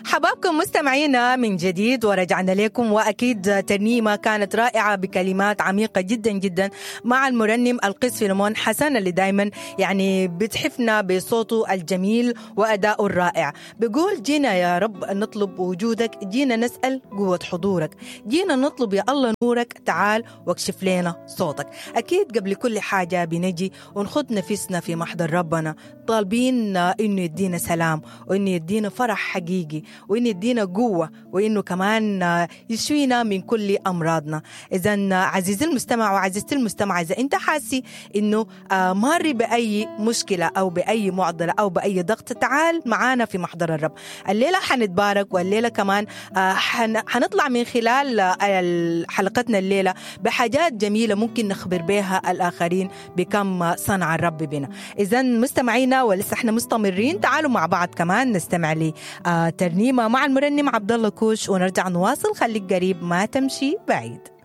حبابكم مستمعينا من جديد ورجعنا لكم، واكيد ترنيمة كانت رائعة بكلمات عميقة جدا جدا مع المرنم القس فيلمون حسن اللي دائما يعني بتحفنا بصوته الجميل وادائه الرائع. بيقول جينا يا رب نطلب وجودك، جينا نسال قوة حضورك، جينا نطلب يا الله نورك، تعال واكشف لنا صوتك. اكيد قبل كل حاجة بنجي ونخط نفسنا في محضر ربنا طالبين انه يدينا سلام، وانه يدينا فرح حقيقي، وانه يدينا قوة، وانه كمان يشفينا من كل امراضنا. اذا عزيزي المستمع وعزيزتي المستمعة، اذا انت حاسي انه ماري باي مشكلة او باي معضلة او باي ضغط، تعال معانا في محضر الرب. الليلة حنتبارك، والليلة كمان حنطلع من خلال حلقتنا الليلة بحاجات جميلة ممكن نخبر بها الاخرين بكم صنع الرب بنا. اذا مستمعينا ولسه احنا مستمرين، تعالوا مع بعض كمان نستمع لي ترنيمة مع المرنم عبد الله كوش ونرجع نواصل. خليك قريب ما تمشي بعيد.